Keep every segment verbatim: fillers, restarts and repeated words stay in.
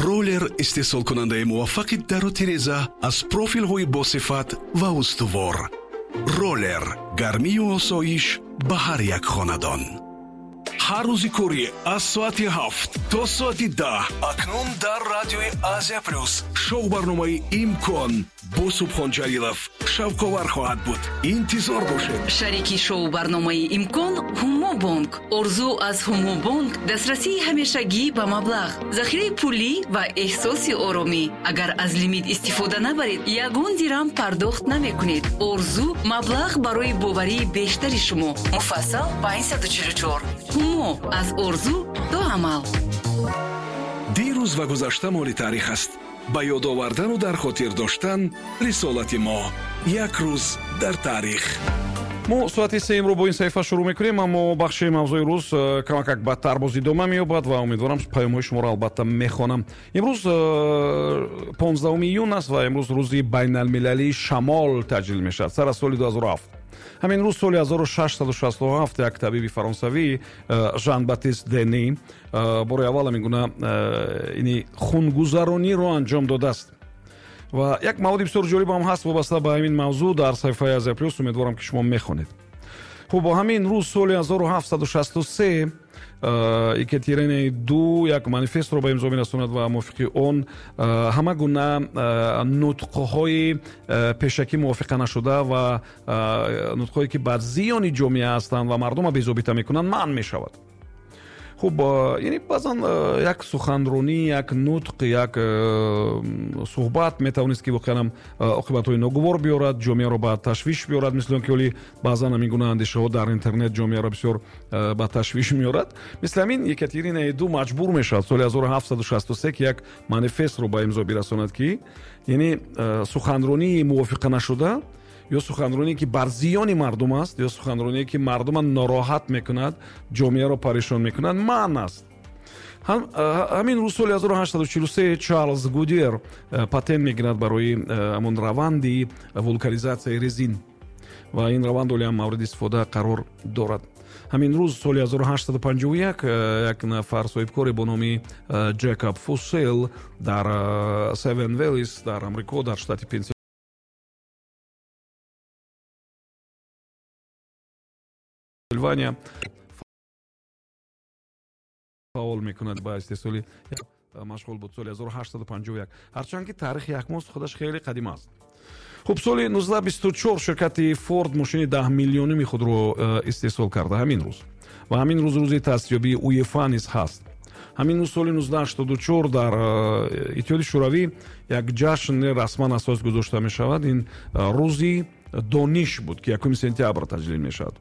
Роллер истеҳсолкунандаи муваффақи дару тиреза аз профилҳои босифат ва устувор. Роллер гармию осоиш ба ҳар як хонадон. Ҳар рӯзи корӣ аз соати ҳафт то соати даҳ акнун дар радиои Азия Плюс шоу-барномаи «Имкон» бо Субҳон Ҷалилов шавқовар хоҳад буд. Интизор бошед. Шарики шоу-барномаи «Имкон» Ҳумобонк. Орзу аз Ҳумобонк дастрасии ҳамешагӣ ба маблағ, захираи пулӣ ва эҳсоси оромӣ. Агар аз лимит истифода набаред, ягон дирам пардохт намекунед. Орзу маблағ барои боварии бештари шумо. Муфассал панҷсаду чилу чор. Ҳумо аз орзу то амал. Дирӯз ва гузашта моли таърих аст. Ба ёд овардану дар хотир доштан рисолати мо. Як рӯз дар таърих. Мо соати сеюмро бо ин саҳифа шурӯъ мекунем, аммо бахши мавзӯи рӯз э, камакак бадтар боз идома меёбад ва умедворам, паёмҳои шуморо албатта мехонам. Имрӯз э, понздаҳуми июн аст ва имрӯз рӯзи байналмилалии шамол таҷлил мешавад сар аз соли ду ҳазору ҳафт. Ҳамин рӯз соли ҳазору шашсаду шасту ҳафт як табиби фаронсавӣ э, Жан Батист Дени бори аввал ҳамин гуна ини хунгузарониро анҷом додааст. Ва як маводи бисёр ҷолиб ҳам ҳаст вобаста ба ҳамин мавзӯъ дар саҳифаи Азия Плюс. Умедворам, ки шумо мехонед. Хуб, бо ҳамин рӯз соли ҳазору ҳафтсаду шасту се Екатеринаи ду як манифестро ба имзо мерасонад ва мувофиқи он ҳама гуна нутқҳои пешакӣ мувофиқа нашуда ва нутқҳое, ки бар зиёни ҷомеа ҳастанд ва мардумро безобита мекунанд, манъ мешавад. Хуб, яъне баъзан як суханронӣ, як нутқ, як суҳбат метавонист, ки воқеан оқибатҳои ногувор биёрад, ҷомеаро ба ташвиш биёрад, мисли он ки ҳоли баъзан ҳамин гуна андешаҳо дар интернет ҷомеаро бисёр ба ташвиш меорад. Мисли ҳамин Екатеринаи ду маҷбур мешавад соли ҳазору ҳафтсаду шасту се ки як манифестро ба имзо бирасонад, ки яъне суханронии мувофиқа нашуда ё суханроние, ки бар зиёни мардум аст, ё суханроние, ки мардума нороҳат мекунад, ҷомеаро парешон мекунад, манъ аст. Ҳамин рӯз соли ҳазору ҳаштсаду чилу се Чарлз Гудиер патент мегирад барои ҳамон раванди вулканизатсияи резин ва ин раванд ҳоле ҳам мавриди истифода қарор дорад. Ҳамин рӯз соли ҳазору ҳаштсаду панҷоҳу як як нафар соҳибкоре бо номи Ҷекоб Фусел дар Севен Велис дар Амрико, дар штати Пенсилвания фаъол мекунад, ба истеҳсоли машғул буд соли ҳазору ҳаштсаду панҷоҳу як, ҳарчанд ки таърихи яхмоз худаш хеле қадим аст. Хуб, соли нуздаҳ бисту чор ширкати Форд мошини даҳ миллионуми худро э, истеҳсол карда ҳамин рӯз. Ва ҳамин рӯз рӯзи таъсисёбии УЕФА низ ҳаст. Ҳамин рӯз соли нуздаҳ ҳаштоду чор дар э, Иттиҳоди Шӯравӣ як ҷашн расман асос гузошта мешавад. Ин э, рӯзи дониш буд, ки якуми сентябр таҷлил мешавад.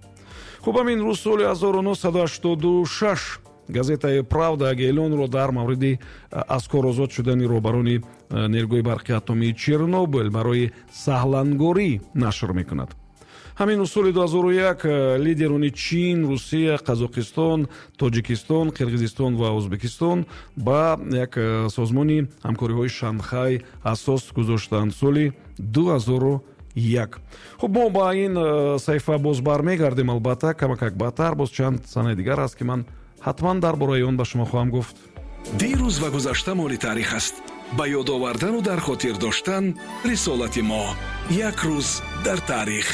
Хуб, ҳамин рӯз соли ҳазору нӯҳсаду ҳаштоду шаш газетаи «Правда» эълонро дар мавриди аз кор озод шудани роҳбарони нерӯгоҳи барқи атомии Чернобыл барои саҳлангорӣ нашр мекунад. Ҳамин рӯз соли ду ҳазору як лидерони Чин, Русия, Қазоқистон, Тоҷикистон, Қирғизистон ва Ӯзбекистон ба як созмони ҳамкориҳои Шанхай асос гузоштанд соли ду ҳазору як. Хуб, мо ба ин саҳифа боз бармегардем, албатта, камакак баъдтар. Боз чанд санаи дигар аст, ки ман ҳатман дар бораи он ба шумо хоҳам гуфт. Дирӯз ва гузашта моли таърих аст. Ба ёд овардану дар хотир доштан рисолати мо. Як рӯз дар таърих.